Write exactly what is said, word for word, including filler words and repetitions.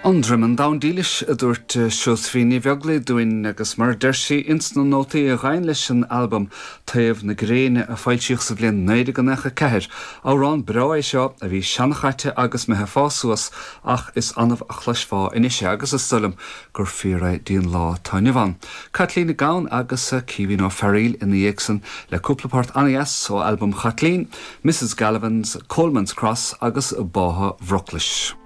An Droimeann Donn Dílis a dúirt Seosaimhín Ní Bheaglaoich dúinn agus mar deir sí ins na nótaí a ghabhann leis an albam Taobh na Gréine a foilsíodh sa bhliain naoi déag nócha ceathair. Amhrán breá é seo a bhí seanchaite agus mé ag fás suas ach is annamh a chloisfeá anois agus is dóigh liom gur fíor é don lá atá inniu ann. Caitlín Nic Gabhann agus Caoimhín Ó Fearghaíl ina dhiaidh san le cúpla port an-deas ó albam Chaitlín, Mrs Gallivan's, Coleman's Cross agus Bátha Bhruclais.